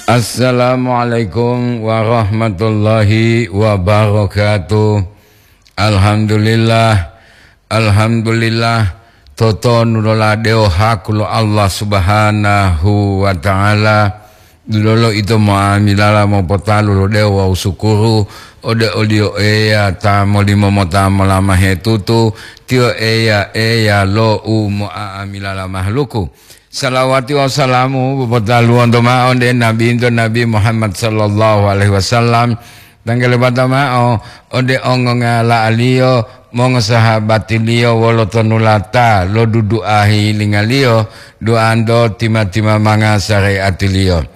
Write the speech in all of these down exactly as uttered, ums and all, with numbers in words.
Assalamualaikum warahmatullahi wabarakatuh. Alhamdulillah, alhamdulillah. Totonu loladewo haku lo Allah Subhanahu wa Ta'ala. Dulolo ito moamilala mopotalu lodewo wawu sukuru ode oliyo Eya ta molimo mota molamahe tutu. Tiyo Eya, Eya lo u moa'amilala mahaluku. Salawati wawu salamu popotaluwonto ma'o ode Nabinto Nabi Muhammad sallallahu alaihi wasallam, tanggalebata ma'o ode ongongala'aliyo, mongosahabatiliyo wolo tonulata lo dudu'a hilingaliyo, duanto tima-timamanga sareatiliyo.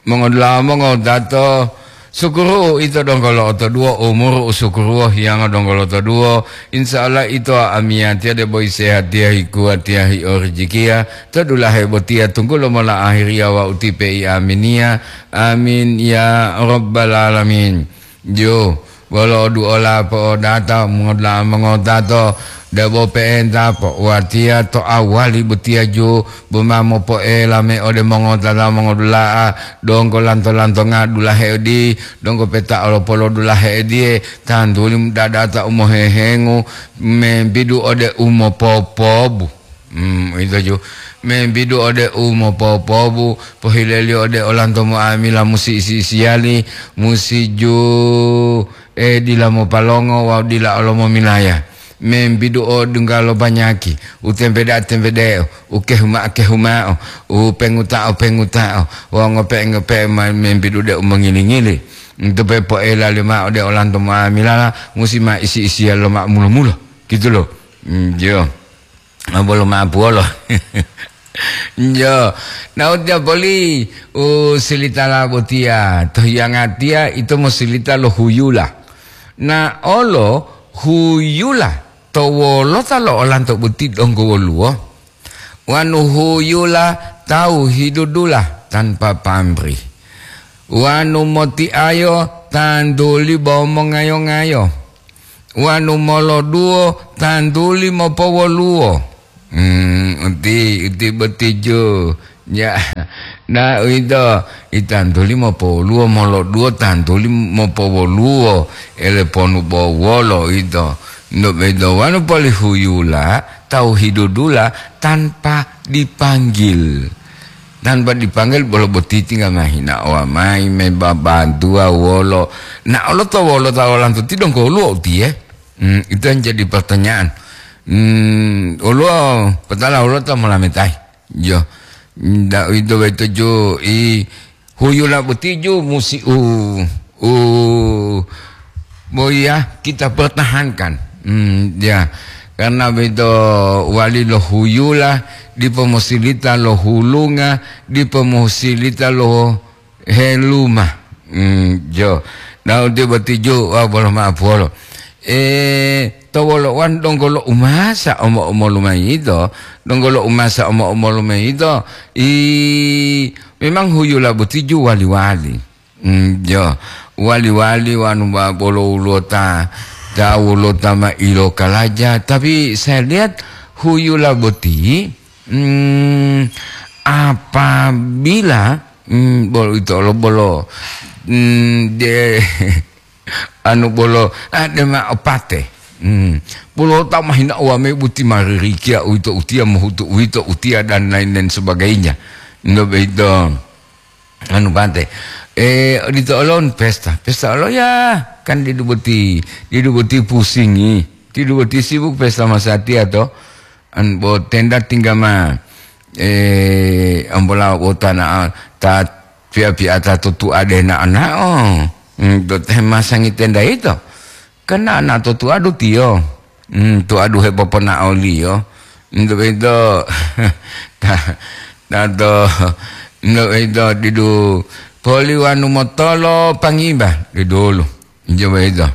Mongodula'a mongotato, sukuru ito donggo lo'otoduwo, umuru u sukuruwo hiyango donggo lo'otoduwo. Insya Allah ito amiyatiya debo isehatiya, hikuwatiya, hiorijikiya to dulahe botiya tunggulo mola ahiriya wawu tipe i aminiya. Amin ya rabbal alamin. Jo, wolo duola po'odata mongoda'a mongotato, debo pe'enta po'uwatiya to awali botiya ju, boma mopo'ela me ode mongotata mongodula'a, donggo lanto-lantonga dulahe odi, donggo peta olopolo dulahe ediye, tantuli dadata u mohehengu, membidu ode u mopopobu. Hmm, ito ju. Membidu ode u mopopobu, pohileliyo ode olanto muamila musi isi-isiyali, musi ju, e, dila mopalongo wawu dila olo momilaya. Membidu o dungga lo banyaki, u tempeda'a-tempede'o, u kehuma-kehuma'o, u penguta'o-penguta'o, wawu ngope'e-ngope'e ma-, membidu de u mongili-ngili. Nto pe po'elali ma'o de olanto muamilala, musi ma isi-isiya lo ma'o mulo-mulo. Gitu lo. Hmm, jo. Ah, bolo ma'apuwolo. Jo, na utiya poli u silitala botiya, to hiyangatiya ito mosilita lo huyula. Na olo huyula to wolota lo olanto boti donggo woluwo? Wanu huyula tawu hidudula tanpa pamri. Wanu motiayo tantuli bo mongayo-ngayo. Wanu moloduwo tantuli mopowoluwo. Hmm, uti, uti boti ju. Ya, na uwito, i tantuli mopowoluwo, moloduwo tantuli mopowoluwo, ele ponu bo wolo ito. Ndo bedo wanu poli huyula, tawu hidudula tanpa dipanggil. Tanpa dipanggil bolo boti tinggal mahina owa mai, me babantuwa wolo. Na olo to wolo ta olanto ti donggo woluwo utiye? Hmm, itu yang jadi pertanyaan. Hmm, woluwo petala woluwo ta molametayi. Jo. Nda uwito boyito ju i huyula boti ju musi u, u, boya kita pertahankan. Hmm, ya. Karena boyito wali lo huyula, dipo mosilita lo hulunga, dipo mosilita lo heluma. Hmm, jo. Daudi boti ju, wa bolo ma'apuwolo. E, to wolo wan donggo lo umasa omo-omolu mayi yito, donggo lo umasa omo-omolu mayi yito, i, memang huyula boti ju wali-wali. Hmm, jo, wali-wali wanu ba bolo woluwo ta, ta woluwo ta ma ilokalaja. Tapi saya lihat huyula boti, hmm, apabila, hmm, bolo ito lo bolo, hmm, de, anu bolo, ah, de ma opate. Hmm. Bolo ta mahina wame boti maririkiya uwito utiya, mohutu uwito utiya, dan lain-lain sebagainya. Ndo beito. Anu bante. Eh, odito olon pesta. Pesta olo ya, kan didu boti, didu boti pusingi. Didu boti sibuk pesta masatiya to. An bo tenda tingga ma, eh, ambola wota na ta pia-pia ta tutu ade na anao. Hmm, do teh masangi tenda ito. Kan ana to tuadu tiyo. Hmm, tuadu hepoponaoliyo. Nto boyito, ta, ta to, nto boyito didu poli wanu motolo pangiba, didulu. Nto boyito.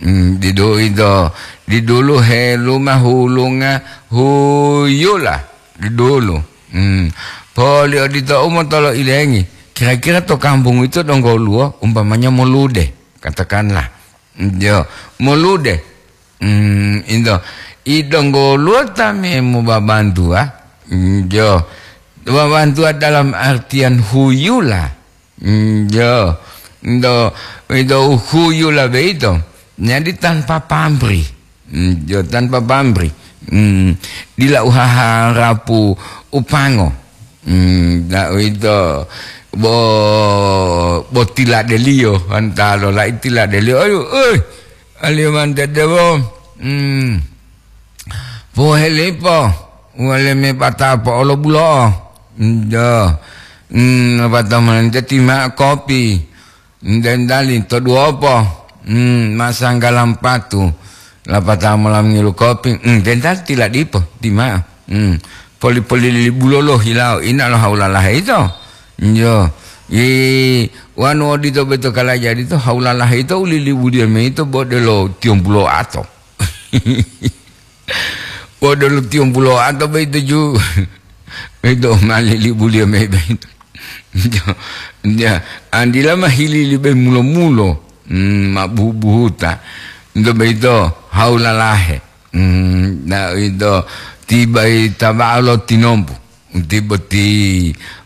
Hmm, didu ito, didulu heluma hulunga huyula, didulu. Hmm. Poli odito u motolo ilengi. Kira-kira to kampung ito donggo woluwo, umpamanya molude, katakanlah. Jo, molude. Hmm, into. I donggo woluwo ta me mobabantuwa? Hmm, jo. Babantuwa dalam artian huyula. Mm, yo. Ndo, ndo uhuyula beito. Jadi tanpa pamrih. Mm, yo, tanpa pamrih. Mm, dila uhaharapu upango. Mm, na uwito bo, bo tiladeliyo, antalo lai tiladeliyo. Ayo, oi, aliyo mantede bo. Mm. Pohelipo, wale me bata po'olo bulo'o. Ndo. Mm, bata mantede tima kopi. Dendali to duopo, mm, masanggalam patu, lapatao mola mongilu kopi, mm, dendali tiladipo, ti mao. Mm. Poli-poli libulolo hilawo, ina lo haulalahe ito. Yo, i, wanu odito beto kalaja dito, haulalahe ito ulilibuliyo me ito bodelo tiyombulo ato. Podolo tiyombulo ato boyito ju. Boyito ma lilibuliyo mayi boyito. Ya, andila ma hilili be mulo-mulo. Hmm, ma buhu-buhuta. Nto boyito haulalahe. Hmm, na ito tibai taba'a lo tinombu. Uti boti,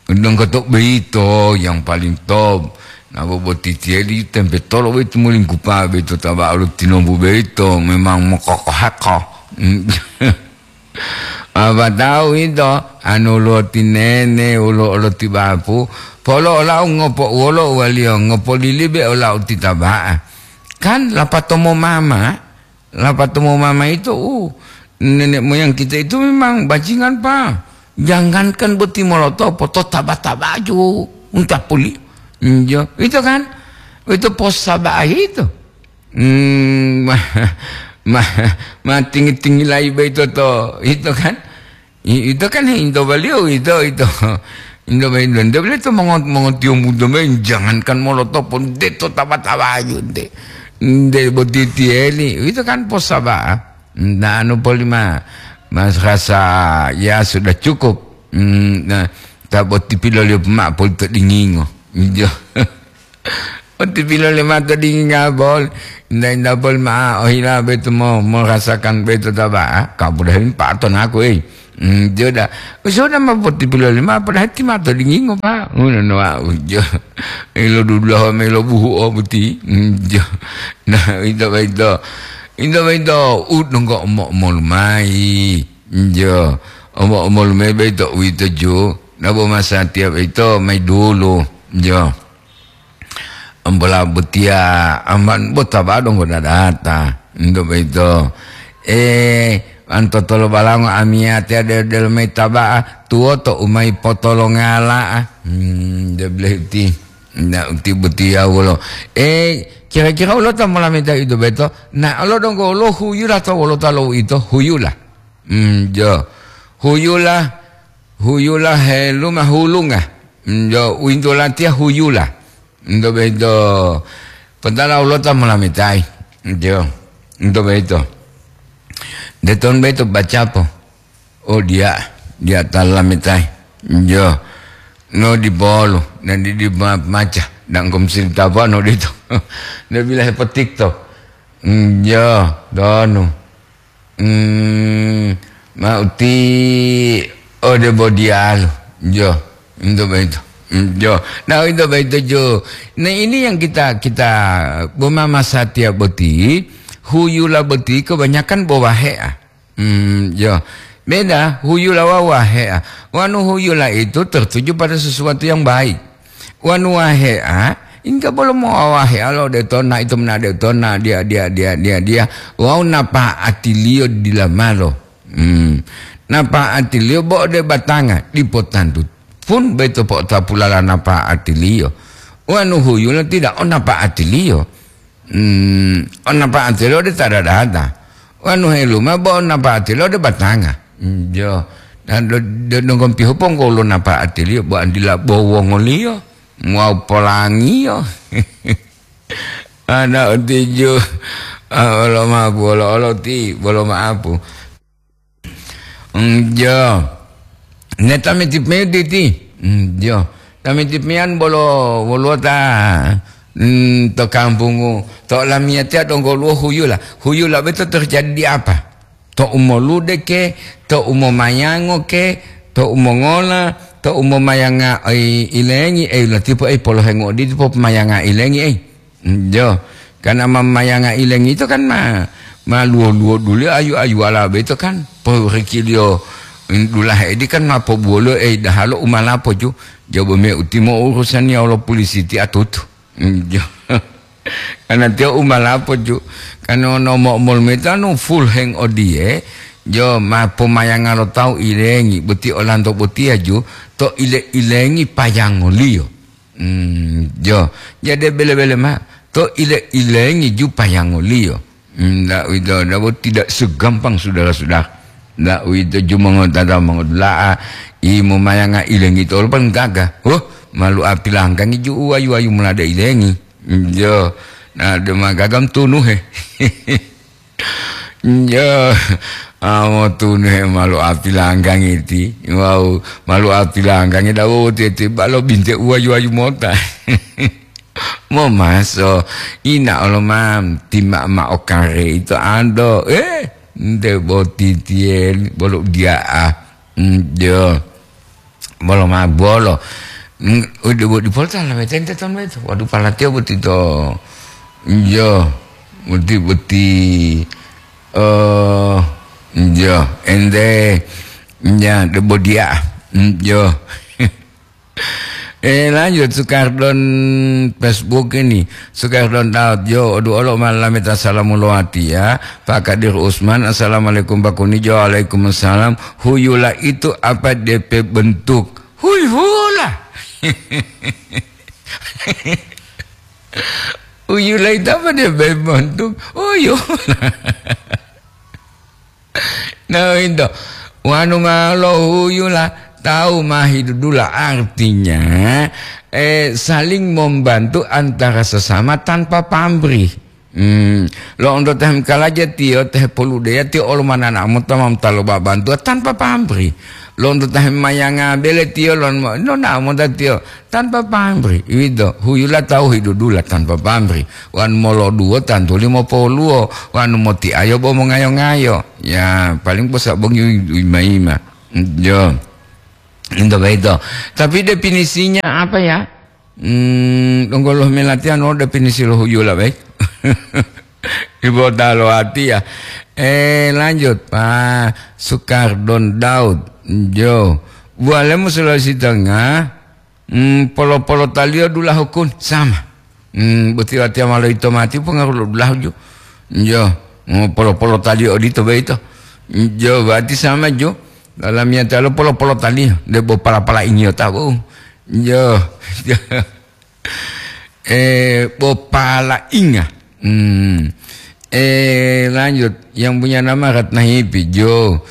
donggoto boyito yang paling top. Nabo boti tiyedi tempe tolo boyito molinggupa boyito taba'a lo tinombu boyito memang mokokohako. Apa tahu ito, anu lo tinene, ulo lo tibapu, polo olau ngopo wolo waliyo ngopo lilibe olau titaba'a. Kan lapatomo mama, Lapatao mama ito, uh, nenek moyang kita itu memang bajingan, Pak. Jangankan boti molotopo, to taba-taba ju, unta puli. Injo, itu kan? Itu posaba'a itu. Hmm, ma, ma, ma tinggi-tinggi lai be itu to, itu kan? I-, ito kan into baliyo ito, ito. Into baliyo, nte bele to mongo-, mongotiyombunto me, jangankan molotopo, nte to taba-tabaju nte. Nte boti tiyeli, ito kan posaba'a. Nta anu polima, mas rasa ya sudah cukup. Hmm, nah, ta boti piloliyo poma polito dingingo. Injo. Oti pilole mato dinginga bol. Inda-inda bol ma ohila beto mo, merasakan beto taba. Ah, kabudahin paton aku, eh. Hmm, joda. Joda ma poti pilole ma, padahal ti mato dingingo, Pak. Ngono no, ah, ujo. Ilo dudulaho melo buhu o boti. Hmm, jo. Nah, ito baito. Ito baito, ut nongko omo-omo lumai. Jo. Omo-omo lumai baito, uito jo. Nabo masatiya baito, mai dulu. Jo. Ambola botiya aman bota ba donggo dadata. Ndo boyito. Eh, antotolo balango amiyatiya de-, delo mayi taba'a, tuwoto u mayi potolongala'a. Hmm, de blehti. Na uti botiya wolo. Eh, kira-kira ulo ta molameta ito beto? Na olo donggo lo huyula to wolo ta lo ito? Huyula. Hmm, jo. Huyula, huyula heluma hulunga. Hmm, jo, uwinto latiya huyula. Nto boyito, potala ulota molametayi. Jo, nto boyito. Deton boyito bacapo. Oh, diya, diya ta lametayi. Jo, no dipolu, na di, di ma-, maca, dangkom sirita po no dito. Nde bila hepotikto. Jo, donu. Hmm, ma uti ode bodiyalu. Jo, ento boyito. Hmm, jo. Nah, ento boyito, jo. Nah, ini yang kita, kita boma masatiya boti, huyula boti kebanyakan bo wahe'a. Hmm, jo. Beda, huyula wa wahe'a. Wanu huyula itu tertuju pada sesuatu yang baik. Wanu wahe'a, ingga bolo mowawahe'a lo de tona ito mena de tona dia, dia, dia, dia, dia. Wawu napa'atiliyo dila malo. Hmm. Napa'atiliyo bo de batanga, dipo tantu pun boyito po'otapulala napa'atiliyo. Wanu huyula tidak o napa'atiliyo. Hmm, o napa'atiliyo de ta dadata. Wanu heluma bo o napa'atiliyo de batanga. Hmm, jo. Dan do, do, donggo pihu ponggo lo napa'atiliyo bo andila bo wongoliyo. Muwawu polangiyo. Ana uti ju. Ah, olo mapu, olo, olo ti, bolo maapu. Njo. Ne tameti pemedi ti. Njo. Tameti peyan bolo woluwo ta, mm, to kampungu, to lamiyatiya donggo luwo huyula. Huyula boyito terjadi di apa? To umolude ke, to umomayango ke, to umongola, to umomayanga ai ilengi, ei, latipo, ei, polohengo odito popomayanga ilengi, ei. Jo, karena mamayanga ilengi itu kan ma, ma luwo-luwo dulu ayu-ayu ala beito kan, porikiliyo dulahe edi kan ma pobuwolo, ei, dahalo umalapo ju. Jobo me utimo urusan ya lo polisi ti atutu. Jo. Karena tiyo umalapo ju. Karena no mo-, mol metanu full heng odiye, jo, ma pomayanga lo tawu ilengi, boti olanto botiya ju, to ile-ilengi payangoliyo. Hmm, jo. Jadi bele-bele ma, to ile-ilengi ju payangoliyo. Hmm, ndak uwito, ndak bo tidak segampang saudara-saudara. Ndak uwito ju mongotata mongodula'a, i momayanga ilengi tolo paling gaga. Huh, malu apilangkangi ju uwayu-wayu mulade ilengi. Hmm, jo. Na de magagam tunuhe. Jo. Amo tunuhe malu apilangkangi ti. Wau, malu apilangkangi dawo ti, ti balo binte uwayu-wayu mota. Momaso, ina olo ma, tima ma okare ito ando. Eh, nte boti tiye bolo dia'a. Mm, jo. Bolo ma bolo. Mm, udah boti polta la metente ton meto. Waduh, palatio boti to. Jo. Boti, boti. Oh, jo. Ente. Ya, de bodia. Mm, jo. Eh, lanjut, Sukardon Facebook ini. Sukardon Daud, jo, odu olo malameta salamu lowati ya. Pak Kadir Usman, assalamualaikum Pak Kuni. Jo, waalaikumsalam. Huyula itu apa D P bentuk? Huyula. Huyula itu apa D P bentuk? Huyula. Nah, itu. Wanu ma lohuyula, tawu ma hidudula, artinya, eh, saling membantu antara sesama tanpa pamrih. Hmm, lo'onto tahem kalaja tiyo, tahe poludeya tiyo, olo manana mota mamta lo babantuwa tanpa pamrih. Lo'onto tahem mayanga bele tiyo, lon mo-, nona mota tiyo. Tanpa pamrih, uwito, huyula tawu hidudula tanpa pamrih. Wanu moloduwo tantuli mopoluwo, wanu motiayo bo mongayo-ngayo. Ya, paling posabongi u-, u-, ima-ima. Jo. Into baito. Tapi definisinya apa ya? Hmm, donggo lo melatihan lo definisi lo huyula, baik. Ibu talo hati ya. Eh, lanjut, Pak Sukardon Daud. Jo. Bualemu Sulawesi Tengah. Hmm, polo-polotaliyo dulahu kun, sama. Hmm, boti watiya ma loyito mati pongaru lo dulahu ju. Jo, hmm, polo-polotaliyo odito boyito. Jo, berarti sama ju. Dalam yatalo polo-polotaliyo, debo pala-pala ingiyo tabu. Jo, jo. Eh, bo pala inga. Hmm. Eh, lanjut. Yang punya nama Ratna Hipi, Jo.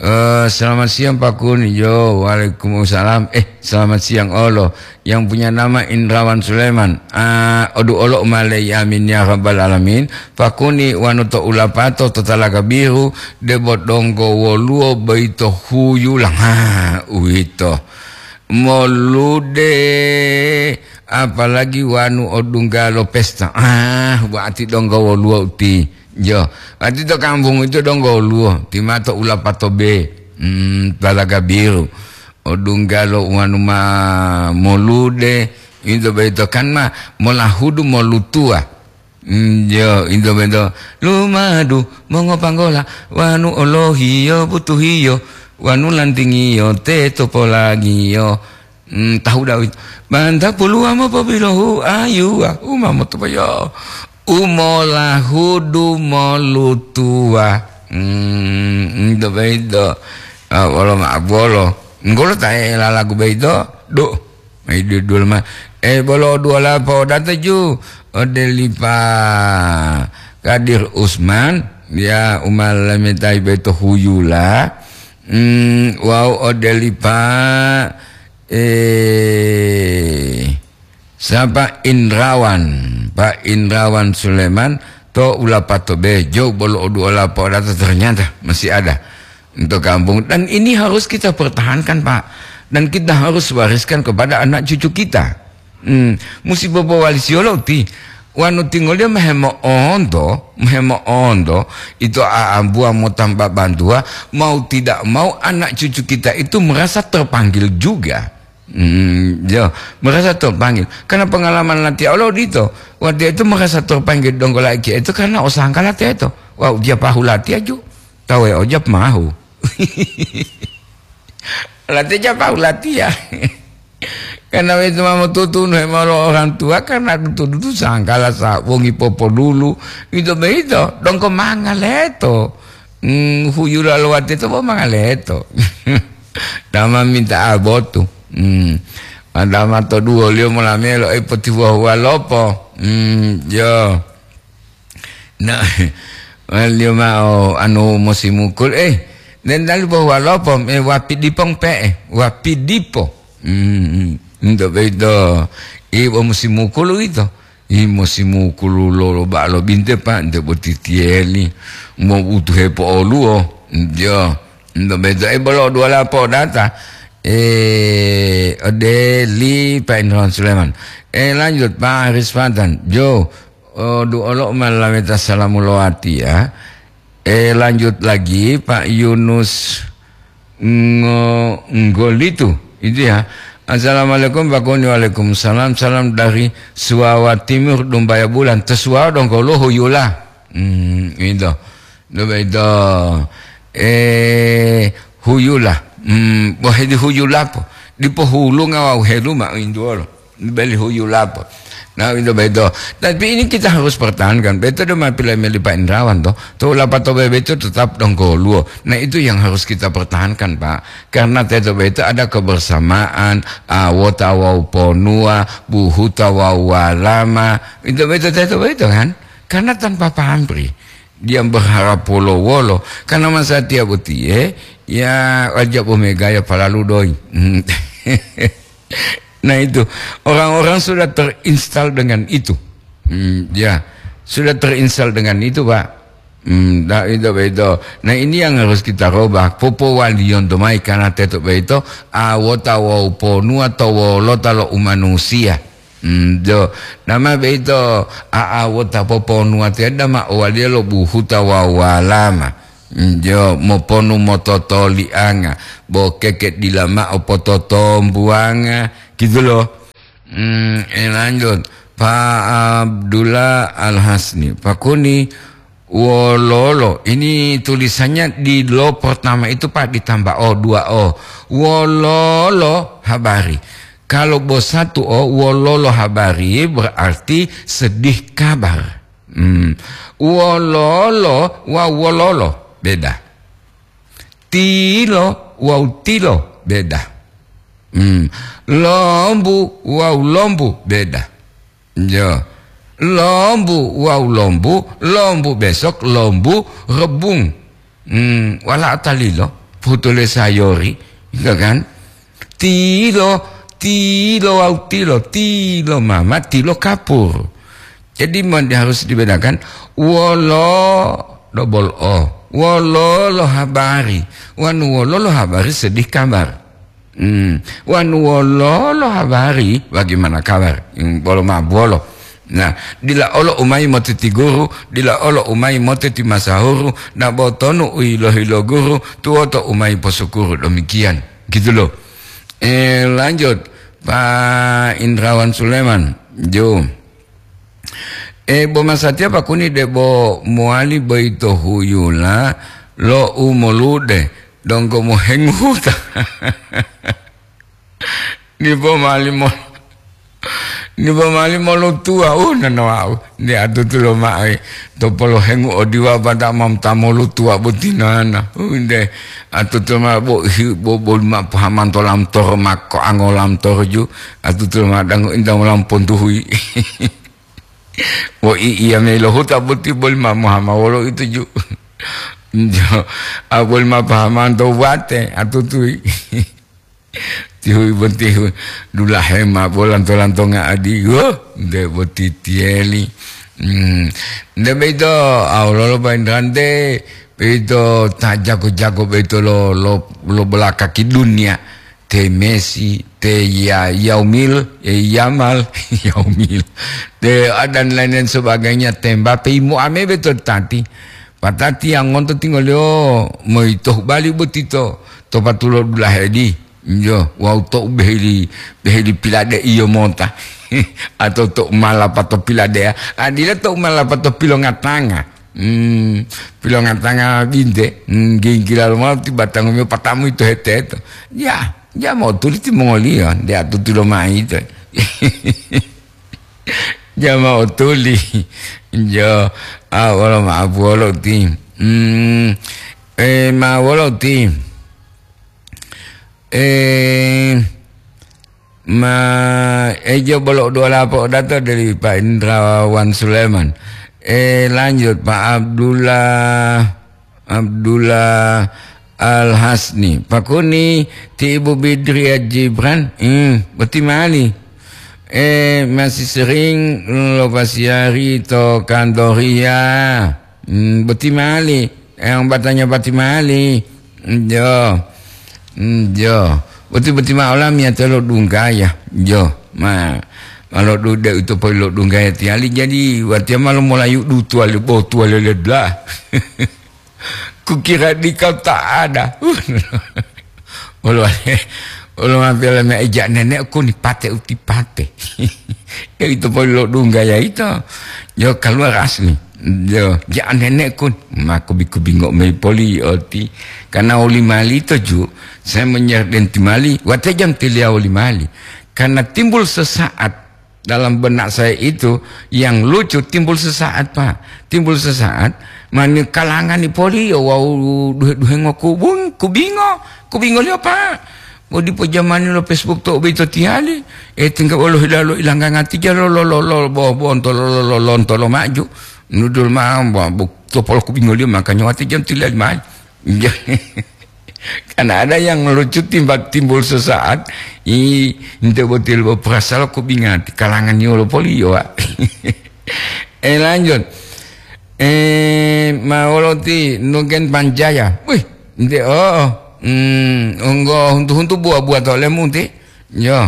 Eh, selamat siang, Pak Kuni, Jo. Waalaikumsalam. Eh, selamat siang, Olo. Yang punya nama Indrawan Sulaiman. Ah, odu olo umale, amin ya rabbal alamin. Pak Kuni, wanu to ulapato to Talaga Biru, debo donggo woluwo boyito huyula. Ha, uwito. Molude, apalagi wanu odunggalo pesta. Ah, wati donggo woluwo uti. Jo, wati to kampung itu donggo woluwo, timato ulapato be. Hmm, Talaga Biru. Odunggalo wanu ma molude, into boyito kan ma molahudu molutuwa. Mm, jo, into bento. Lumadu mongopanggola, wanu olohiyo butuhiyo, wanu lantingiyo teto polangiyo. Mm, tahu Dawid. Banta puluwa mopobilohu ayuwa, uma motopoyo. Umolahudu molutuwa. Mm, into bento. Ah, wolo ma bolo. Nggolo tae lalagu bento. Duh. Mai dudul ma. Eh, bolo duola po'odata ju ode li Pa Kadir Usman, ya, umalametai boyito huyula. Hmm, wawu ode li Pa, eh, sapa, Indrawan, Pa Indrawan Suleman to ulapato be, jo bolo oduola po'odata, ternyata masih ada. Untuk kampung. Dan ini harus kita pertahankan, Pak. Dan kita harus wariskan kepada anak cucu kita. Hmm, musi popowalisiyo lo uti. Wanu tingoliyo mehemo'onto, mehemo'onto, itu aambuwa motamba bantuwa, mau tidak mau anak cucu kita itu merasa terpanggil juga. Hmm, yo, merasa terpanggil. Karena pengalaman latihan Allah odito. Waktu itu merasa terpanggil donggo laiki itu karena osangka latihan itu. Wah, dia pahu latihan ju. Tahu ya, ojab mahu. Latihan pahu latihan. Karena itu mau tutunu mau orang tua karena tutu sangkala sa wongi popo dulu. Itu begitu. Donggo mangaleto. Hmm, huyu lalu waktu itu mau mangaleto. Dama minta abotu. Hmm. Adama to duo liyo molamelo e poti huwa-huwa lopo. Hmm, yo. Na, waliyo ma'o anu musimukul, eh, den dalu bo walopo, eh, wapi dipong pe'e, wapi dipo. Hmm, hmm. Ento beito, ibo musimukul uwito. I musimukul lo, lo ba'alo binte, Pak, ente boti tiyeli. Mo butuhe po'oluwo. Yo, ento beito, eh, bolo dua lapo data. Eh, ode li Pak Indra Sulaiman. Eh, lanjut, Pak Aris Fatan. Jo, Oh, du'olo u ma laweta salamu lowatiya. Eh, lanjut lagi, Pak Yunus Ngo-, Nggolitu, itu ya. Assalamualaikum, Pak Kuni. Waalaikumsalam. Salam dari Suwawa Timur, Dumbaya Bulan. To Suwawa donggo lo huyula. Hmm, itu. Dumbaya itu. Eh, huyula. Hmm, boh di huyula po. Dipohulunga wawu heluma induwolo. Beli huyu lapo. Nah, itu beto. Tapi ini kita harus pertahankan. Beto do ma pila meli Pak Indrawan to. To lapato bebeto tetap dongkoluwo. Nah, itu yang harus kita pertahankan, Pak. Karena teto beto ada kebersamaan, awota wawu ponua, buhuta wawu walama. Itu beto teto beto kan? Karena tanpa pamrih. Dia berharap wolo-wolo. Karena masa tiap utie, ya, aja bomegaya palalu doi. Nah, itu, orang-orang sudah terinstal dengan itu. Hmm, ya, sudah terinstal dengan itu, Pak. Hmm, nah, itu, itu. Nah, ini yang harus kita rubah. Popowaliyon domai karena teto beito, awota wawu ponua to wolota lo umanusiya. Hmm, jo, nama beito, a, awota poponua te dama owaliya lo buhuta wawu walama. Hmm, jo, moponu mototolianga, bo keke dila ma'o pototombuwanga, gitu loh. Hmm, eh, lanjut. Pak Abdullah Al-Hasni, Pak Kuni, wololo. Ini tulisannya di lo pertama itu, Pak, ditambah o, dua o. Wololo habari. Kalau bo satu o, wololo habari berarti sedih kabar. Hmm. Wololo wa wololo, beda. Tilo wawu tilo, beda. Hmm. Lombu wawu lombu, beda. Yo. Lombu wawu lombu, lombu besok, lombu rebung. Hmm, wala atalilo, putule sayori, gitu kan? Tilo, tilo wawu tilo, tilo mama, tilo kapur. Jadi mon-, harus dibedakan, wolo, double o, wolo lo habari, wanu wolo lo habari sedih kabar. Hmm. Wanu wolo lo habari, bagaimana kabar? Hmm, bolo ma bolo. Nah, dila olo umai motiti guru, dila olo umai motiti masahuru, na botonu uilo-hilo guru, tuwoto umai posukuru. Demikian, gitu loh. Eh, lanjut, Pak Indrawan Suleman, jo. Eh, bo masatiya Pak Kuni debo mowali boyito huyula lo u molude, donggo mohenguta. Ni bo mali mo-, ni bo mali molutuwa, uh, nana wau. Ni atutu lo ma'i, to polohengu odiwa pada mam ta molutuwa botinana. Uh, nde, atutu ma bo hi-, bo, bo ma pahamanto lam toro mako ango lam toro ju. Atutu ma dango inda lam pontuhui. Wo i iya mei lo huta boti boli ma mohama wolo itu ju. Jo, a boli ma pahamanto wate atutui. Tihui bontihu dulahe ma bolanto-lantonga adi. Wo, nde boti tieli. Hmm. Nde beito, a wololo bainrante, beito ta jago-jago beito lo, lo, lo belakaki dunia. Te Messi, te Ya-, Yaumil, eh, Yamal, Yaumil, te, ah, dan lain-lain sebagainya, te Mbappe, imu ame beto tati. Patati yang ngonto tingolio moito bali botito, to patulo dulahe di. Iyo, wawu to'u beheli, beheli pilade'iyo mota. Atau to'u malapato pilade'a. Adila to'u malapato pilongatanga. Hmm, pilongatanga binte. Hmm, ginggila lomao ti batangumiyo patamu ito hete-heto. Ya, ya mao tuli timongoliyo, de atuti lomai ito. Jama otuli. Jo, ah, wolo ma'apu wolo ti. Hmm, eh, ma wolo ti. Eh, ma, eh, jo bolo dua lapo dato dari Pak Indrawan Sulaiman. Eh, lanjut Pak Abdullah. Abdullah Al-Hasni. Pakuni ti Ibu Bidriah Jibran, hmm, boti mali. Eh, masih sering lo pasiari to kantoria. Hmm, boti mali. Yang batanya boti mali. Jo. Hmm, jo. Boti-boti ma'o lamiyatiya lo dunggaya. Jo. Ma, malo dude itu poi lo dunggaya tiyali. Jadi, watiya malo molayu dutuwali botuwali ledla. Kukira dikau tak ada. Olo, olo mapela me eja nene'ku ni pate uti pate. Ya itu poli lo dungga ya itu. Yo keluar asli. Yo, ja nene'ku ma kubi-kubi ngok mei poli oti. Karena oli mali to ju, saya menyerah denti mali, wate jam tilia oli mali. Karena timbul sesaat dalam benak saya itu, yang lucu timbul sesaat, Pak. Timbul sesaat, mani kalangani poli, wawu duhe-duhengo kubung, kubingo, kubingoliyo, Pak. Bo dipo jamani lo Facebook to boyito tiyali, eh, tingga wolo hilalo ilangga ngati jalo lo, lo, lo, bo, bonto lo, lo, lo, lonto lo maju. Nudul ma, bo, bo, to polo kubingoliyo, makanya wate jam tilia oli mali. Karena ada yang lucu timba timbul sesaat, i, ente botil bo perasal ko bingati, kalangan yolo poli yo, Wak. Eh, lanjut. Eh, ma wolo ti Nugen Panjaya. Wih, ente, oh, hmm, onggo huntu-huntu buah-buah to lemu ti. Yo,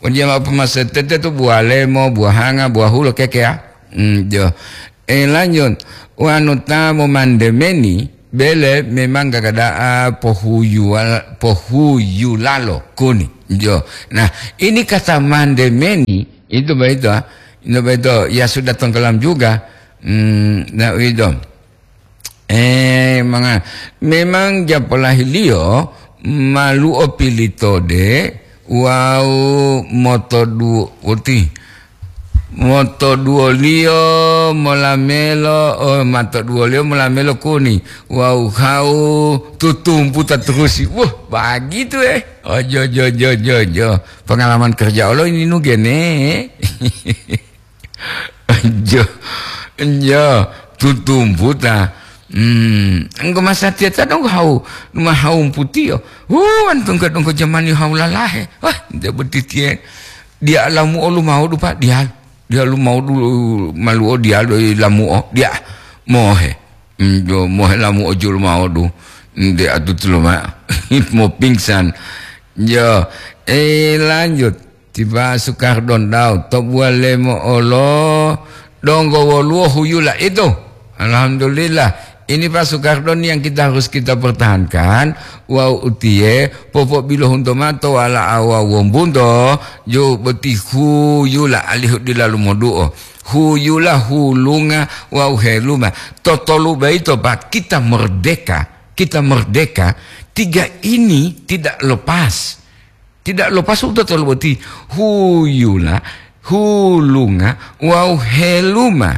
dia ma pemasete tu buah lemo, buah hanga, buah hulo keke ya. Hmm, yo. Eh, lanjut. Wanu ta momandemeni, bele memang gagada'a pohuyuwal-, pohuyulalo kuni. Jo. Nah, ini kata mandemeni, itu begitu, ah. Itu begitu. Ya sudah tenggelam juga. Hmm, nah, itu. Eh, manga-, memang japolahiliyo malu'o pilitode wawu motoduwo-, woti. Motoduwoliyo molamelo, oh, matoduwoliyo molamelo kuni wawu hawu tutumputa turusi. Wah, bagitu, eh. Oh, jo, jo, jo, jo, jo. Pengalaman kerja olo ini nugene. Jo, jo, tutumputa. Hmm, enggo masatiya ta donggo hawu, numa hawu putiyo. Wu, wantungga donggo jamani hawu lalahe. Wah, nte botitiye. Dia lamu olu mau dupa, dia. Dia lu mau dulu maluo dia lu lamuo, dia mohe. Hmm, jo mohe lamuo julu mau du. Nde atutu luma. Mo pingsan. Jo, eh, lanjut. Tiba Sukardon Daud, to buah lemo olo, donggo woluwo huyula itu. Alhamdulillah. Ini Pak Sukardon yang kita harus kita pertahankan. Wawu utiye, popobilohunto mao to wala'a wawu wombunto, ju boti huyula alihu dila lumoduo. Huyula, hulunga, wawu heluma. Totolu boyito, Pak, kita merdeka. Kita merdeka. Tiga ini tidak lepas. Tidak lepas u totolu boti. Huyula, hulunga, wawu heluma.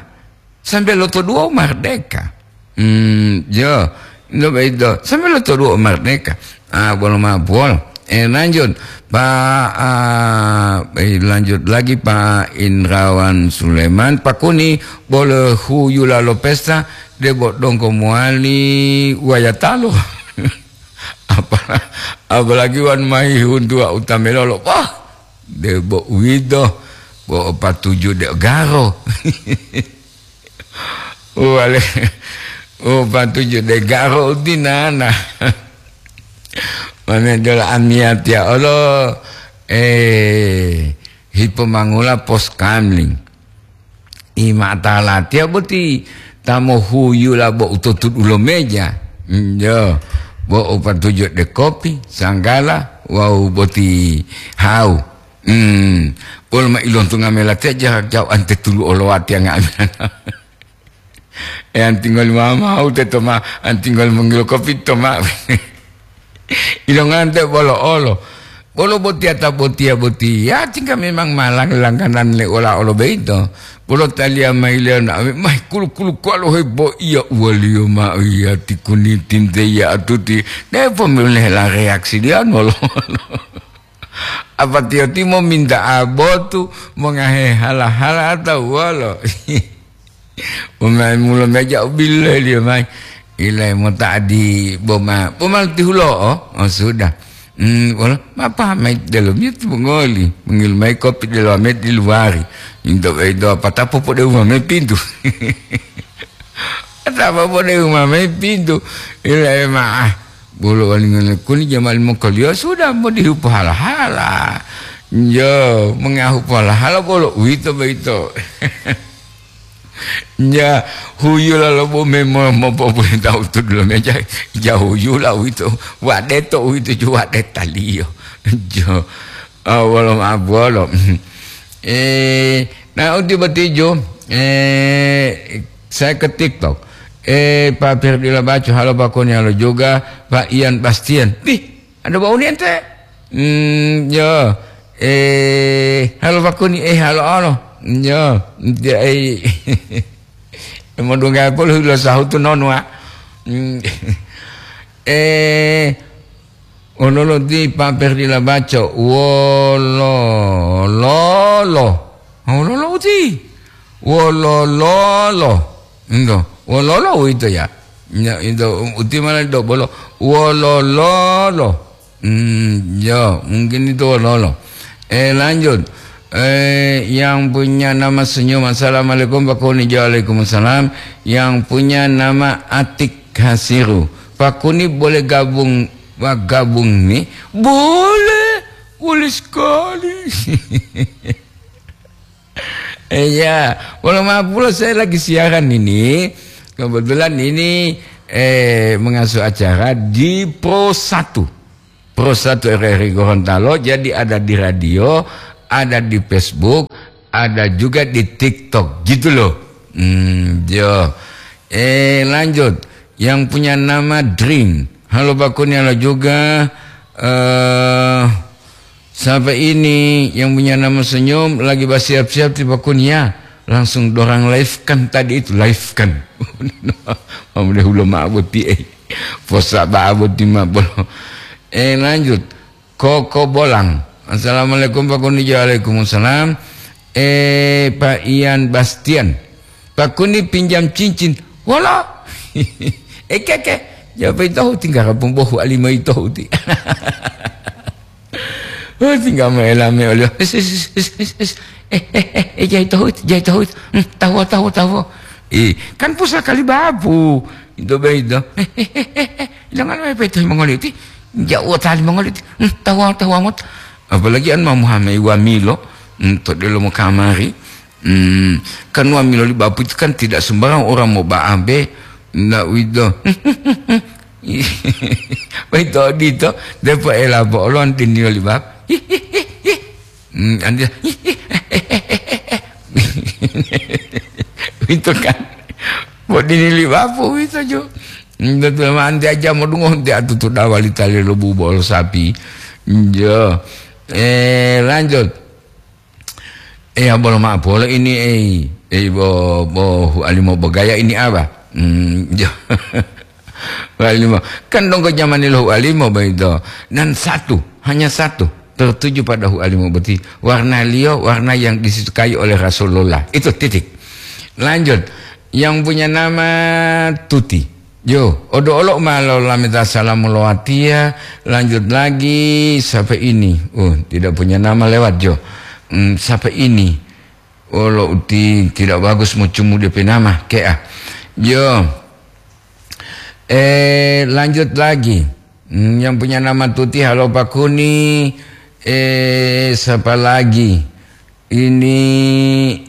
Sambe lotoduwo mardeka. Hmm, jo. Ndo boyito. Sambe lotoduwo mardeka. Ah, bolo ma'o buwolo. Eh, lanjut. Pak, ah, eh, lanjut lagi Pak Indrawan Suleman. Pakuni bolo huyula lo pesta, debo donggo mowali wayatalo. Apa-, apalagi wan mayi huntuwa utamilolo. Wah, debo uwito, bo o patuju de garo. Wale, o patuju de garo utinana. Mane dola amiyatiya olo, eh, hipomangula pos kamling. Imata latiya boti ta mohuyula bo utotudulo meja. Njo, bo upatuju de kopi, sanggala, wawu boti hau. Hmm, bolo ma ilontunga mela teja jau'ante tulu olowati anga'amila. E antingoli mama hau teto ma, antingoli mongilo kopi to ma. Ilongante bolo olo. Bolo botiya ta botiya botiya, tingga memang ma lang-, langganan le ola olo beito. Bolo taliya mayi leyo na ame, mayi kulu-kulu kuwalo hebo iya uwaliyo ma iya tikuni tinte iya atuti. Depo mele la reaksi diyan wolo-wolo. Apa tiyo timo minta abotu mongahe hala-hala atau wolo? Umai mulo meja u bileliyo mayi. Ilai mota adi boma, boma tihulo'o. Oh, sudah. Hmm, wala, mapa mai dalam itu mengoli. Mengil mai kopi dalam met di luari. Into, into apa tapo pode uma mai pintu. Tapo pode uma mai pintu. Ilai maah. Bolo wali ngene kuni jamal mokoliyo sudah mau dihupu hala-hala. Yo, mengahu hala-hala bolo uwito boyito. Ya, huyula lo bo memo mopopolita utudu lo meja, ja huyula uwito, wadeto uwito ju wadetaliyo. Jo, ah, wolo ma'o bolo. Eh, nah, uti batijo, eh, saya ke TikTok. Eh, Pak Firdi Labaco, halo Pak Koni, halo juga Pak Ian Bastian. Ih, ada bau ni ente? Hmm, ya. Eh, halo Pak Kuni, eh, halo, halo. Ya, dia, eh. Mau dongga polo lo sahutu nonu, ah. Hmm. Eh, ololo di Pak Ferdi Labaco, wolololo. Wololo uti. Wolololo. Ento, wololo uwito ya. Ya, ento, uti mana do bolo. Wolololo. Hmm, ya, mungkin itu wololo. Eh, lanjut. Eh, yang punya nama senyum. Assalamualaikum, Pak Koni. Waalaikumsalam. Yang punya nama Atik Hasiru. Pak Koni boleh gabung, Pak, gabung nih? Boleh. Boleh sekali. Iya, walau maaf pula saya lagi siaran ini. Kebetulan ini, eh, mengasuh acara di Pro satu. Pro satu R R I Gorontalo, jadi ada di radio, ada di Facebook, ada juga di TikTok, gitu loh. Hmm, yo. Eh, lanjut. Yang punya nama Dream. Halo Pak Kuni, halo juga. Eh, siapa ini yang punya nama Senyum lagi bersiap-siap di Pak Kuni ya? Langsung dorang live kan tadi itu, live kan. Mamule hulo ma'o boti, eh. Posa ba'a boti ma bolo. Eh, lanjut. Koko Bolang. Assalamualaikum, Pak Kuni. Waalaikumsalam. Eh, Pak Ian Bastian. Pak Kuni pinjam cincin. Wala. Eh, keke. Jawab itu tinggal kampung bohu alima itu ti. Oh, tinggal main lame oleh. Es, es, es, es, es, es. Eh, eh, eh, eh, jai tohut, jai tohut. Hmm, tahu, tahu, tahu. Eh, kan pusaka li babu. Itu baik itu. Eh, eh, eh, eh, eh. Jangan main peto mongoliti. Jauh tali mongoliti. Hmm, tahu, tahu amat. Apalagi an mau Muhammad wamilo. Hmm, to delo mo kamari. Hmm, kan wamilo li bapu itu kan tidak sembarang orang mau ba'abe, ndak wito. Wito dito, depo ela bolon tinio li bab. Hmm, andi-, wito kan. Bo dini li bapu wito jo. Hmm, betul, ma andi aja modungo, andi atutu dawali tali lo bubo lo sapi. Jo. Eh, lanjut. Eh, ya, bolo ma'o polo ini, eh. Eh, bo, bo, hualimo bogaya ini apa? Hmm, jo. Hualimo. Kan donggo jamani lo hualimo boyito. Dan satu, hanya satu, tertuju pada hualimo boti. Warnaliyo, warna yang disukai oleh Rasulullah. Itu titik. Lanjut. Yang punya nama Tuti. Yo, odo olo ma lolameta salamu lo watiya, lanjut lagi, siapa ini? Oh, tidak punya nama lewat, jo. Hmm, siapa ini? Oh, lo uti tidak bagus mau cumu D P nama, kea. Yo, eh, lanjut lagi. Hmm, yang punya nama Tuti, halo Pak Kuni. Eh, siapa lagi? Ini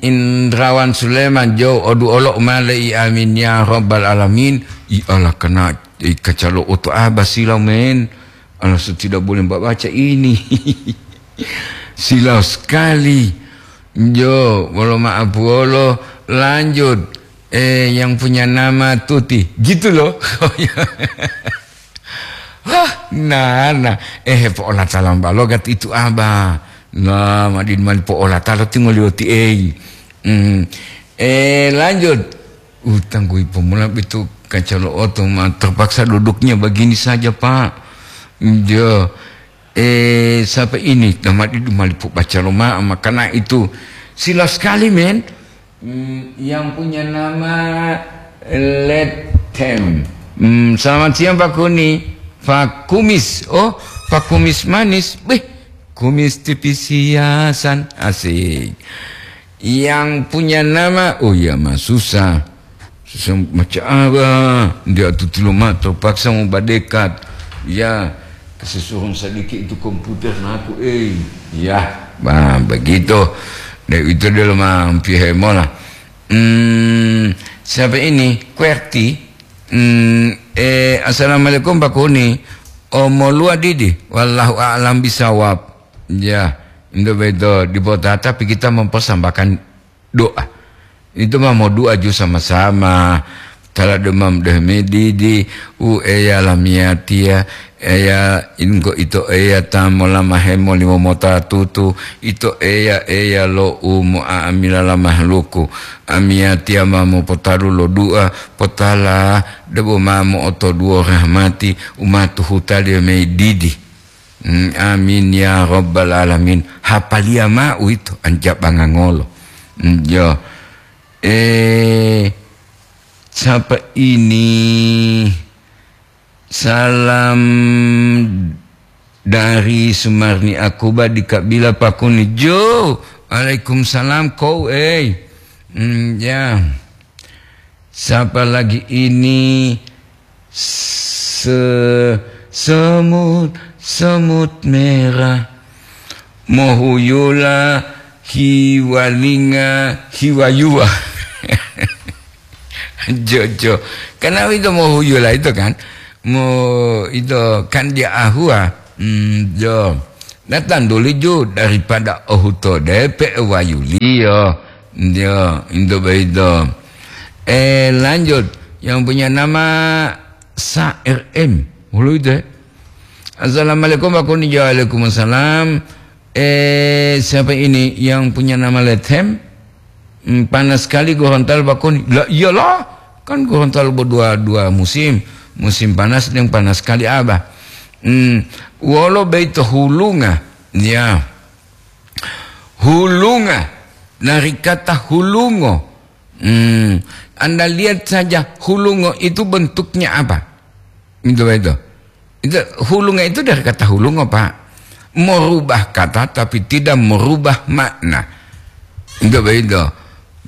Indrawan Suleman, jo, odu olo male i amin ya rabbal alamin. I ala kena i kacalo oto aba sila men. Alasan tidak boleh Mbak baca ini. Silau sekali. Jo, bolo maaf bolo, lanjut. Eh, yang punya nama Tuti. Gitu loh. Hah, nah, nah. Eh, po'olata lamba logat itu, Abah. Nah, madin mali po'olata lo tingolioti, eh. Hmm. Eh, lanjut. Utang kui pemula itu kaca lo oto, ma terpaksa duduknya begini saja, Pak. Jo. Eh, siapa ini? Nama di mali po baca lo ma, makana itu. Sila sekali, men. Hmm, yang punya nama Letem. Hmm, selamat siang, Pak Kuni. Pak Kumis. Oh, Pak Kumis manis. Beh, kumis tipis hiasan. Asik. Yang punya nama, oh ya, mah susah. Susah macam apa? Dia tutulo ma terpaksa mau badekat. Ya, kesusuhun sedikit itu komputer naku, eh. Ya, bah, begitu. Dek itu dia lo mampihe mola. Hmm, siapa ini? Kuerti. Hmm, eh, assalamualaikum, Pak Kuni. Omolua didi. Wallahu a'lam bisawab. Ya, itu betul. Di Botata, tapi kita mempersembahkan doa. Itu mah mau doa ju sama-sama. Tala demam deh medidi, u eya lamiyatiya, eya inggo ito eya ta molama hemo limo mota tutu, ito eya, eya lo u mo'a'amila la mahluku. Amiyatiya ma mopotaru lo doa, potala debo ma mo'otoduwo rahmati, u ma tuhutaliyo medidi. Hmm, amin ya rabbal alamin. Hapaliya ma'u ito, anjabanga ngolo. Hmm, yo. Eh, siapa ini? Salam dari Sumarni Akuba di Kabila Pakuni. Jo, waalaikumsalam, kou, eh. Hmm, ya. Siapa lagi ini? Se-, semut, semut merah. Mohuyula, hiwalinga, hiwayuwa. Jojo. Karena itu mohuyula itu kan. Mo itu kan dia ahua. Hmm, jo. Datang dulu ju daripada ohuto depe wayuliyo. Yo, itu begitu. Eh, lanjut. Yang punya nama Sa R M. Hulu itu, eh. Assalamualaikum, Pak Kuni. Waalaikumsalam. Eh, siapa ini yang punya nama Lethem? Hmm, panas sekali Gorontalo, Pak Kuni. Lah, iyalah. Kan Gorontalo berdua dua musim. Musim panas dan panas sekali, Abah. Hmm, wolo beito hulunga. Ya. Hulunga. Dari kata hulungo. Hmm, Anda lihat saja hulungo itu bentuknya apa. Itu, itu. Itu, hulunga itu dari kata hulungo, Pak. Merubah kata tapi tidak merubah makna. Itu begitu.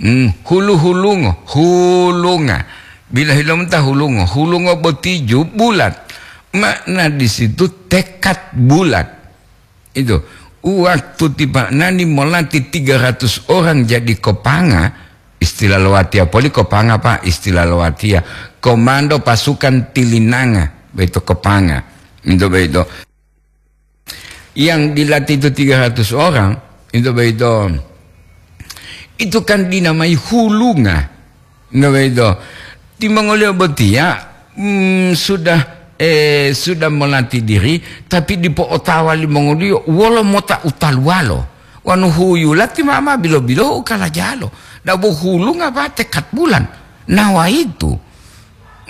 Hmm, hulu-hulungo, hulunga. Bila hilomta hulungo, hulungo botiju bulat. Makna di situ tekad bulat. Itu. Waktu tipa nani molati tiga ratus orang jadi kopanga, istilah lowatia poli kopanga, Pak, istilah lowatia. Komando pasukan tilinanga, begitu kopanga. Itu begitu. Yang dilatih itu tiga ratus orang, itu begitu. Itu kan dinamai hulunga. Itu begitu. Timongoliyo botiya, mm, sudah, eh, sudah melatih diri, tapi dipo'otawa limongoliyo wolo mota utaluwalo. Wanu huyula ti mama bilo-bilo ukalajalo. Dabo hulunga ba tekat bulan. Nawa itu.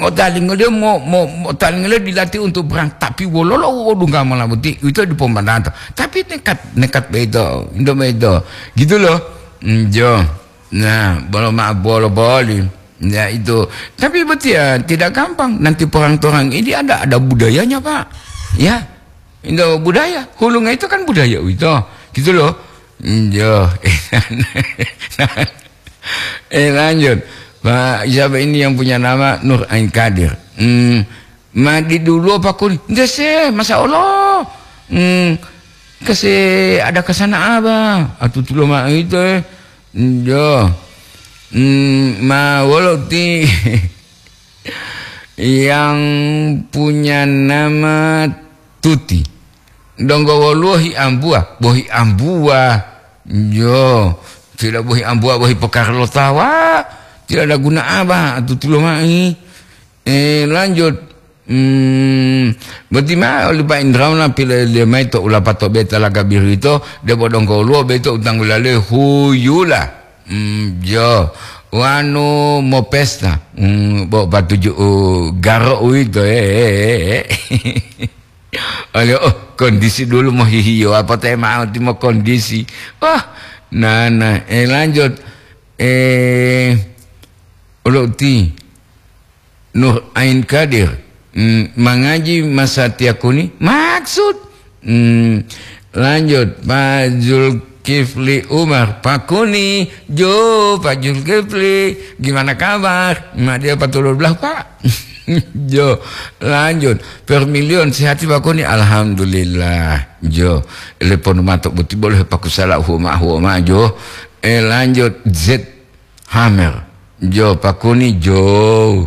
Ngotalingoliyo mo, mo, motalingoliyo dilatih untuk perang, tapi wololo u odungga mola boti, uwito dipo mbananto. Tapi nekat, nekat beito, indo beito. Gitu loh. Njo. Nah, bolo ma-, bolo boli. Ya, itu. Tapi boti ya tidak gampang. Nanti perang-perang ini ada, ada budayanya, Pak. Ya. Indo budaya. Hulunga itu kan budaya uwito. Gitu loh. Njo. Eh, lanjut. Pak, siapa ini yang punya nama Nur Ain Kadir? Hmm, ma di dulu apa kuli? Nde se, masa Allah. Hmm, kese ada kesana apa? Atutulo ma itu, eh. Njo. Hmm, ma wolo ti yang punya nama tuti. Donggo woluwo hiambuwa, bohi ambuwa. Yo, tidak bohi ambuwa, bohi pokar lo tawa. Tidak ada guna apa, tutulo mai. Eh, lanjut. Hmm, boti ma oli Pak Indrawan pilih dia mai to ulapato beta laga birito, debo donggo woluwo beto utanggulale huyula. Hmm, yo. Wanu mopesta. Hmm, bo patuju, uh, garo uwito, eh, eh, eh, eh. Oleh, oh, kondisi dulu mau hihiyo, apa teh mau timo kondisi. Wah, nana, eh, lanjut. Eh, ulo ti. Nur Ain Kadir. Hmm, mangaji masa tiakuni? Maksud? Hmm, lanjut, Pak Zulkifli Umar, Pakuni, jo, Pak Zulkifli, gimana kabar? Ma dia patulur belah, Pak. Jo, lanjut. Permilion, sehati Pakuni? Alhamdulillah. Jo, telepon mato buti boleh pakusala huma, huma, jo. Eh, lanjut, Z Hammer. Jo, Pakuni, jo.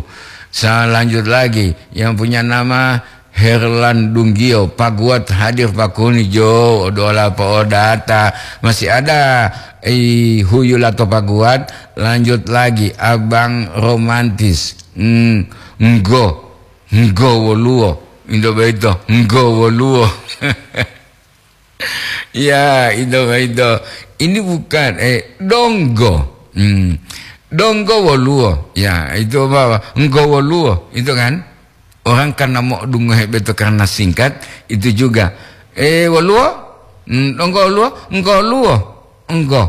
Saya lanjut lagi. Yang punya nama Herlan Dunggio, Paguat hadir Pakuni, jo. Dola po'odata. Masih ada, eh, huyula to Paguat. Lanjut lagi, Abang Romantis. Hmm, nggo. Nggo woluwo. Indo boyito, nggo woluwo. Ya, itu, itu. Ini bukan, eh, donggo. Hmm. Donggo woluwo. Ya, itu apa? Enggo woluwo, itu kan. Orang karena mau dungohe beto karena singkat, itu juga. Eh, woluwo? Hmm, donggo woluwo? Enggo woluwo. Enggo.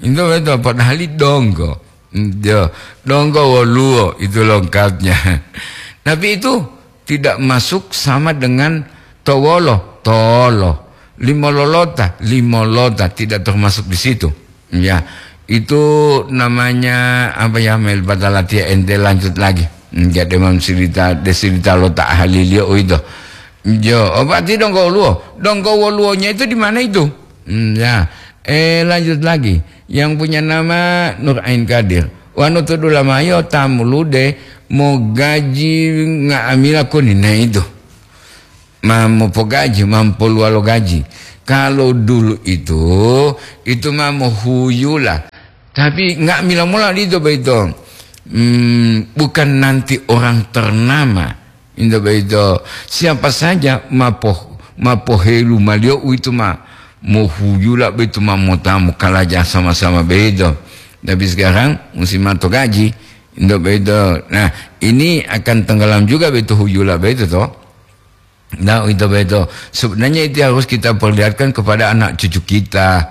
Itu betul, padahal donggo. Hmm, ya, donggo woluwo, itu lengkapnya. Tapi itu tidak masuk sama dengan towolo, tolo. Limololota, limolota, tidak termasuk di situ. Ya, itu namanya apa ya, Mel Badalatia, ente lanjut lagi. Hmm, jadi mam cerita, de cerita lo tak ahli liyo itu. Jo, oh, berarti donggo woluwo. Donggo woluwonya itu di mana itu? Hmm, ya. Eh, lanjut lagi. Yang punya nama Nur Ain Kadir. Wanu to dulamayo tamulude mogaji nga'amila kuni. Nah, itu. Ma mopogaji, ma mopoluwalo gaji. Kalau dulu itu, itu ma mohuyula. Tapi nga'amila mola lito boyito. Hmm, bukan nanti orang ternama. Into boyito, siapa saja ma poh-, ma pohelu maliyo uwito ma mohuyula boyito ma mota mokalaja sama-sama boyito. Tapi sekarang musim mato gaji, into boyito. Nah, ini akan tenggelam juga boyito huyula boyito to. Nah, itu betul. Sebenarnya itu harus kita perlihatkan kepada anak cucu kita.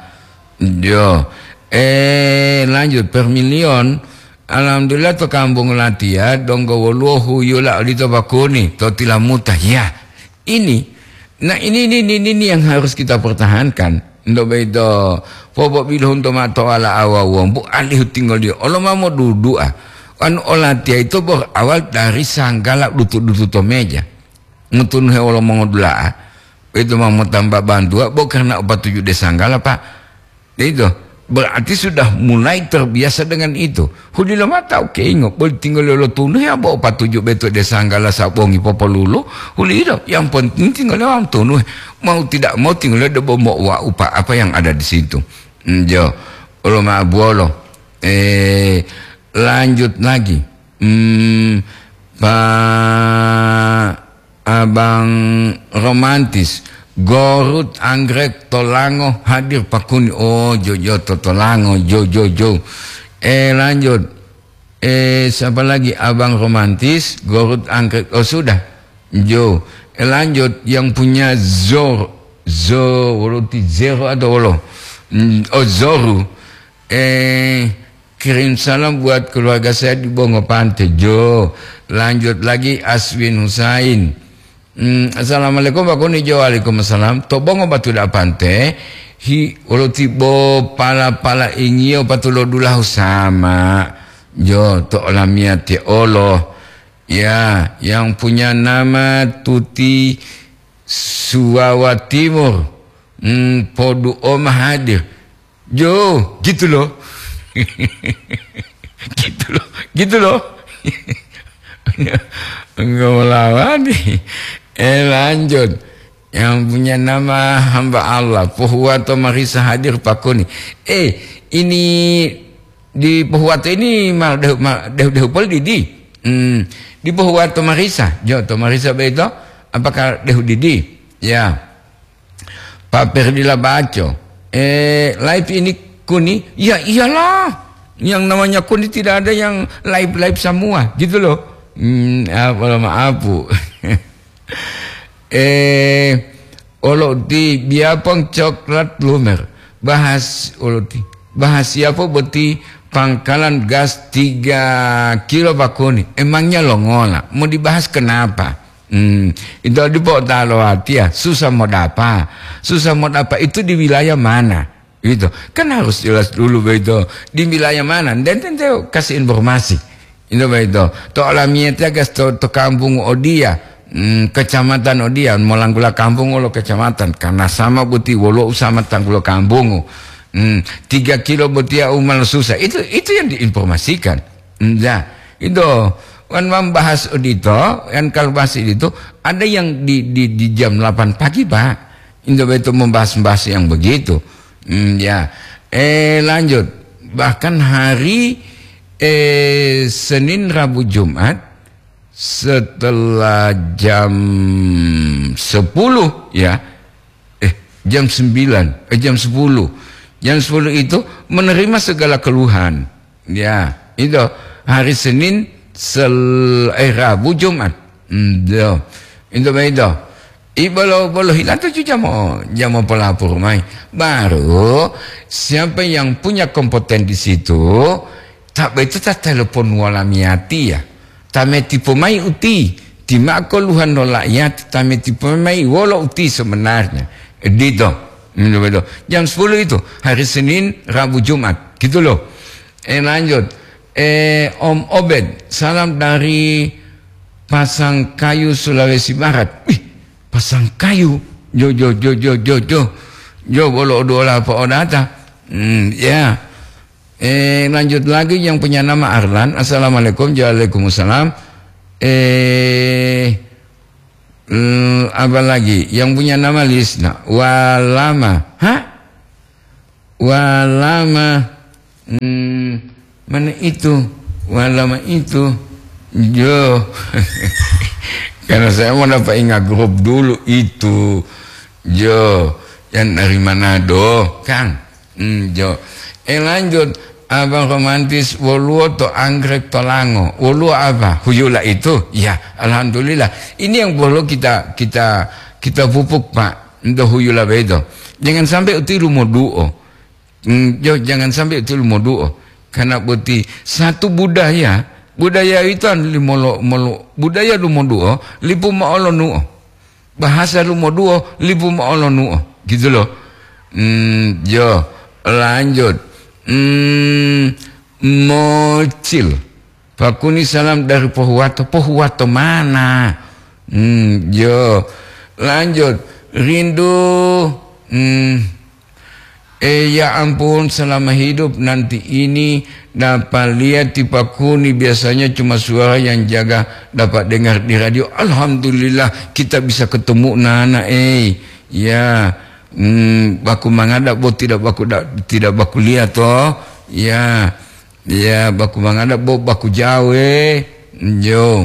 Yo. Eh, lanjut, Permilion. Alhamdulillah, to kampung latiya, donggo woluwo huyula odito Pakuni, to tilamuta. Ya, ini. Nah, ini, ini, ini, ini yang harus kita pertahankan. Ndo beto, popo bilhun to mato ala awa wombu, alihu tingoliyo. Olo mamo dudua. Anu olatiya itu berawal dari sanggala dutu-dutu to meja. Motunuhe wolo mongodula'a, itu ma motamba bantuwa, bo karna o patuju de sanggala, Pak. Itu berarti sudah mulai terbiasa dengan itu. Hudilo mata, oke, ingo, boli tinggal lo tunuhe, abo o patuju beto de sanggala sabongi popolulu, hulido. Yang penting tinggal lo tunuhe. Mau tidak mau tinggal lo debo mo wa upa apa yang ada di situ. Njo, olo ma buolo. Eh, lanjut lagi. Hmm, Pak Abang Romantis, Gorut Anggrek Tolango hadir Pakuni. Oh, jo, jo, to Tolango, jo, jo, jo. Eh, lanjut. Eh, siapa lagi? Abang Romantis, Gorut Anggrek. Oh, sudah. Jo. Eh, lanjut. Yang punya Zor, Zo, wolo ti Zero atau wolo? Hmm, oh, Zoru. Eh, Kirim salam buat keluarga saya di Bongo Pante, jo. Lanjut lagi, Aswin Husain. Hmm, assalamualaikum, Pak Kuni, jo. Waalaikumsalam. To Bongo Batu da Pante, hi, wolo tibo pala-pala ingiyo patulo dulahu sama. Jo, to olamiyate olo. Ya, yang punya nama Tuti Suwawa Timur. Hmm, podu oma hadir. Jo, gitu loh. Gitu loh, gitu loh. Enggak melawani. Eh, lanjut. Yang punya nama hamba Allah, Pohuwato Marisa hadir pakoni. Eh, ini di Pohuwato ini mal dehu, mal dehu, dehu poli didi. Hmm, di Pohuwato Marisa, jo to Marisa beto, apakah dehu didi? Ya. Pak Perdila Baco, eh, live ini kuni? Ya iyalah, yang namanya kuni tidak ada yang live-live semua, gitu loh. Hmm, apa maaf, Bu. Eh, olo ti biapang coklat lumer. Bahas olo ti. Bahas siapa boti pangkalan gas tiga kilo bakuni? Emangnya lo ngola? Mau dibahas kenapa? Hmm, itu dipo talo hati ya, susah mau dapat. Susah mau dapat itu di wilayah mana? Gitu. Kan harus jelas dulu begitu. Di wilayah mana? Dan tentu kasih informasi. Itu begitu. To olamiyatiya gas to, to kampung odia, hmm, kecamatan odia, molanggula kampung wolo kecamatan. Karena sama boti wolo usama tanggulo kampung. Hmm, tiga kilo botiya umal susah. Itu, itu yang diinformasikan. Hmm, ya, itu. Kan membahas odito, kan kalau bahas itu ada yang di, di, di jam delapan pagi, Pak. Itu betul membahas-bahas yang begitu. Hmm, ya. Eh, lanjut. Bahkan hari, eh, Senin, Rabu, Jumat, setelah jam sepuluh, ya. Eh, jam sembilan, eh, jam sepuluh. Jam sepuluh itu menerima segala keluhan. Ya, itu hari Senin, sel-, eh, Rabu, Jumat. Hmm, itu. Itu begitu. Ibolo, bolo hilang tujuh jam, oh, jam pelapor mai. Baru siapa yang punya kompeten di situ, tak begitu tak telepon wala miati ya. Tameti pomai uti, timako luhan no laiyati, tameti pomai wolo uti sebenarnya. Dito. Jam sepuluh itu, hari Senin, Rabu, Jumat. Gitu loh. Eh, lanjut. Eh, Om Obed, salam dari Pasangkayu, Sulawesi Barat. Wih, Pasangkayu. Jo, jo, jo, jo, jo, jo. Jo, bolo oduola apa odata? Hmm, ya. Eh, lanjut lagi yang punya nama Arlan. Assalamualaikum. Waalaikumsalam. Eh, l-, apa lagi? Yang punya nama Lisna. Walama. Hah? Walama. Hmm, mana itu? Walama itu. Jo. Karena saya mau dapat ingat grup dulu itu. Jo, yang dari Manado, kan? Hmm, jo. Eh, lanjut. Abang romantis, woluwo to anggrek to lango. Woluwo apa? Huyula itu. Ya, alhamdulillah. Ini yang perlu kita, kita, kita pupuk, Pak. Ento huyula beto. Jangan sampai uti lumoduo. Hmm, jo, jangan sampai uti lumoduo. Karena boti satu budaya, budaya itu anu limolo, molo, budaya lumoduo, lipu moolonuo. Bahasa lumoduo, lipu moolonuo. Gitu loh. Hmm, jo, lanjut. Hmm, mocil. Pakuni salam dari Pohuwato. Pohuwato mana? Hmm, jo. Lanjut. Rindu. Hmm. Eh, ya ampun, selama hidup nanti ini dapat lihat di Pakuni, biasanya cuma suara yang jaga dapat dengar di radio. Alhamdulillah, kita bisa ketemu nana, eh. Ya. Hmm, baku mangada bo tidak baku da-, tidak baku lihat toh. Ya. Ya, baku mangada bo baku jawe. Jo.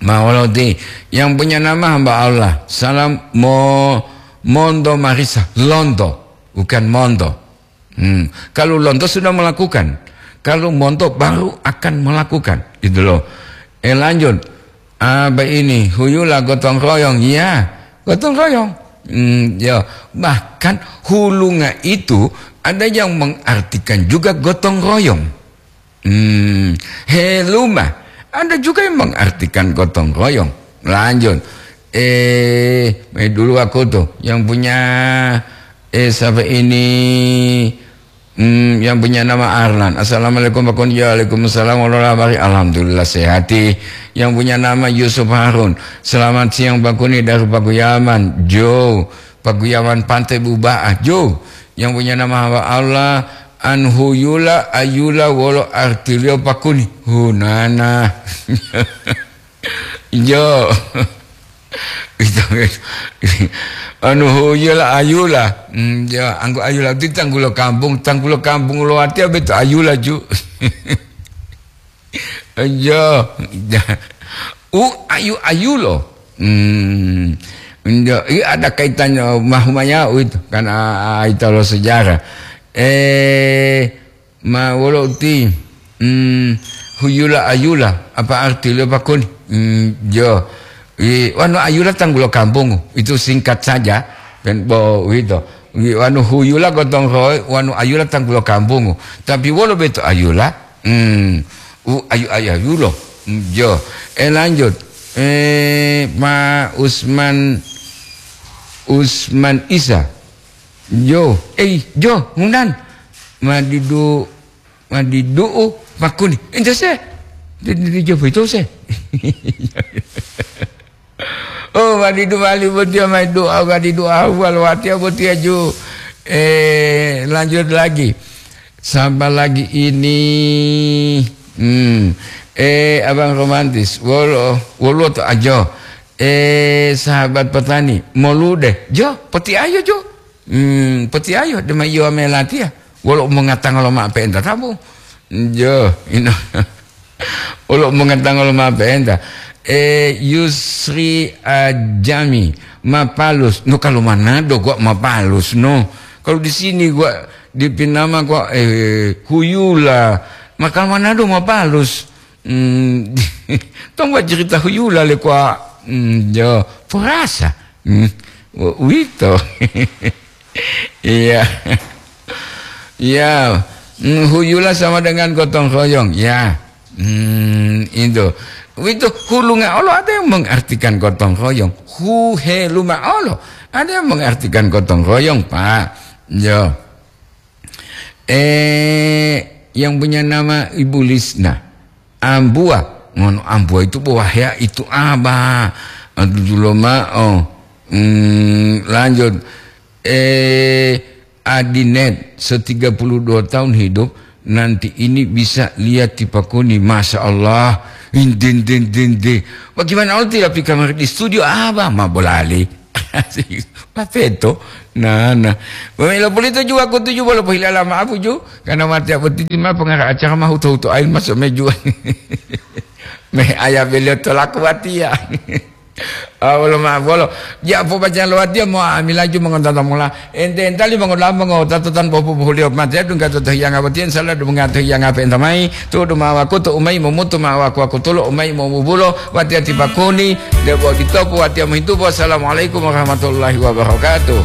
Mawoloti yang punya nama hamba Allah. Salam mo-, Monto Marisa. Lonto, bukan Monto. Hmm. Kalau Lonto sudah melakukan. Kalau Monto baru akan melakukan. Gitu loh. Eh, lanjut. Apa ini? Huyula gotong royong. Ya, gotong royong. Hmm, ya. Bahkan hulunga itu ada yang mengartikan juga gotong royong. Hmm, heluma. Ada juga yang mengartikan gotong royong. Lanjut. Eh, mai dulu aku tuh. Yang punya, eh, siapa ini? Hmm, yang punya nama Arlan. Assalamualaikum, Pak Kun. Ya, waalaikumsalam. Wala habari? Alhamdulillah, sehati. Yang punya nama Yusuf Harun. Selamat siang, Pak Kuni, dari Pakuyaman. Jo, Pakuyaman Pantai Bubaah. Jo, yang punya nama hamba Allah, Anhuyula Ayula wolo artiliyo Pakuni. Hunana. Jo. Ito, anu, huyula ayula. Hmm, ya, anggo ayula ti tanggulo kampung, tanggulo kampung lo watiya beto ayula ju. Iya. U ayu-ayu lo. Hmm. Iya, iya, ada kaitannya mahumaya itu, kan, ah, itu lo sejarah. Eh, ma wolo uti, hmm, huyula ayula, apa arti lo pakun? Hmm, yo. I, wanu ayula tanggulo kampung, itu singkat saja, kan bo itu. I, wanu huyula gotong roy, wanu ayula tanggulo kampung. Tapi wolo beto ayula? Hmm. U ayu-ayu lo. Hmm, yo. Eh, lanjut. Eh, Ma Usman, Usman Isa. Yo, eh, yo, hundan. Madidu, madidu, pakuni. Ente se. Di, di, di, jo, itu se. Oh, wadidu wali botiya mai doa, wadidu awal watiya botiya ju. Eh, lanjut lagi. Sabar lagi ini. Hmm. Eh, abang romantis. Wolo, wolo to ajo. Eh, sahabat petani. Molude. Jo, peti ayo jo. Hmm, peti ayo. Dema iyo melatiya. Wolo mongatanga lo ma pe'enta tabu. Jo, ino. Wolo mongatanga lo ma pe'enta. Eh, Yusri Ajami, Mapalus. No, kalau Manado gua Mapalus, no. Kalau di sini gua di Pinama gua, eh, Huyula. Maka Manado Mapalus. Hmm, tong gua cerita Huyula le gua. Hmm, jo, perasa. Hmm, wito. Iya. Iya. Hmm, huyula sama dengan gotong royong. Ya. Hmm, itu. Itu hulunga olo ada yang mengartikan gotong royong. Huheluma olo ada yang mengartikan gotong royong, Pak. Yo. Eh, yang punya nama Ibu Lisna. Ambua. Ngono ambua itu buah ya, itu apa? Aduh, dulu ma'o. Hmm, lanjut. Eh, Adinet, se-tiga puluh dua tahun hidup, nanti ini bisa lihat tipakuni. Masya Allah. Indin, din, din, din. Bagaimana Allah tidak pi kamar di studio? Apa? Ma bolali. Papeto. Nah, nah. Pamela pulito ju aku tuju bolo pohilala ma apu ju. Karena mati aku titi ma pengara acara ma huto-huto ain masuk meju. Me aya beliau tolaku watia. Ah, bolo ma bolo. Ja po baca lo watia mo amilaju mengontonton mula. Ente entali mengodamu ngo tatotan bopu bohulio mati adung ka toto hiyanga watia insya Allah dum ngato hiyanga pe entamai. Tudu ma wakutu umai momutu ma waku-waku tulo umai momubulo. Watiya tipakuni, debo ditopu watiya mohitupo. Assalamualaikum warahmatullahi wabarakatuh.